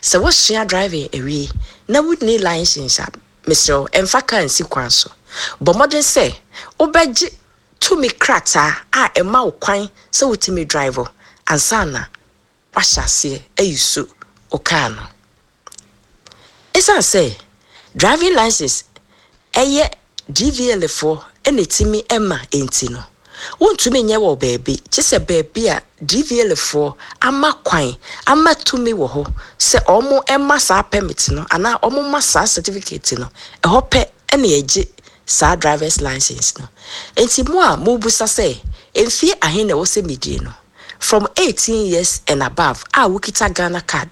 Sɛ woasua driving awie na wunni license a, mesrɛ wo, mfa kaa nsi kwan so. Bɔ mmɔden sɛ wobɛgye tumi krataa a ɛma wo kwan sɛ wutumi drive ansa na woahyɛ aseɛ ayusu wo kaa no. Esiane sɛ driving license yɛ DVLA foɔ na ɛtumi ma nti no, wontumi nyɛ wɔ baabi gye sɛ baabi a DVLA foɔ ama kwan ama tumi wɔ hɔ sɛ wɔn ma saa permit no anaa wɔn ma saa certificate no, ɛhɔ pɛ na yɛgye saa drivers license no. Nti mo a mobusa sɛ mfie ahe na ɛwɔ sɛ medie no, from 18 years and above a wokita Ghana card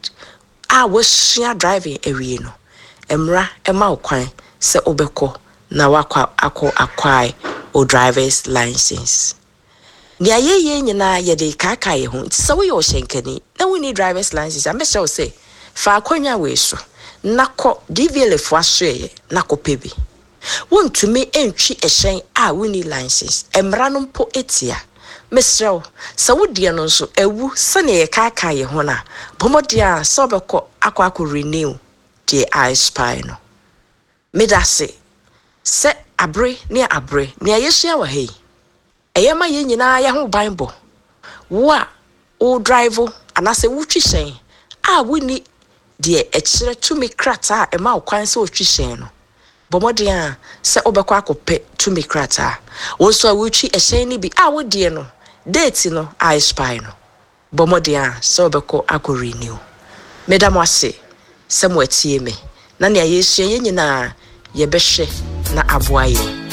a woasua driving awie no, mmara ma wo kwan sɛ wobɛkɔ na woakɔ akɔ acquire wo drivers license. Nea yɛyɛ nyinaa yɛde rekaakae yɛn ho nti sɛ woyɛ ɔhyɛnkani na wonni drivers license a, mɛsrɛ wo sɛ fa akwannya wei so na kɔ DVLA foɔ asoɛeɛ na kɔpɛ bi. Wontumi ntwi hyɛn a wonni license, mmara no mpo tia. Mesrɛ wo, sɛ wo deɛ no nso awu sɛdeɛ yɛkaakae yɛn ho no a, bɔ mmɔden ara sɛ wobɛkɔ akɔ akɔ renew deɛ a expire no. Meda ase sɛ abere ne abere nea yɛsua wɔ ha yi, Ɛyɛ ma yɛn nyinaa yɛn ho banbɔ. Wo a wo drive anaasɛ wotwi hyɛn a wonni deɛ ɛkyerɛ tumi krataa a ɛma wo kwan sɛ wotwi hyɛn no, bɔ mmɔden ara sɛ wobɛkɔ akɔpɛ tumi krataa. Wo nso a wotwi hyɛn no bi a wo deɛ no date no a expire no, Bɔ mmɔden ara sɛ wobɛkɔ akɔ renew. Meda mo ase sɛ mo atie me na nea yɛresua yɛn nyinaa yɛbɛhwɛ na aboa yɛn.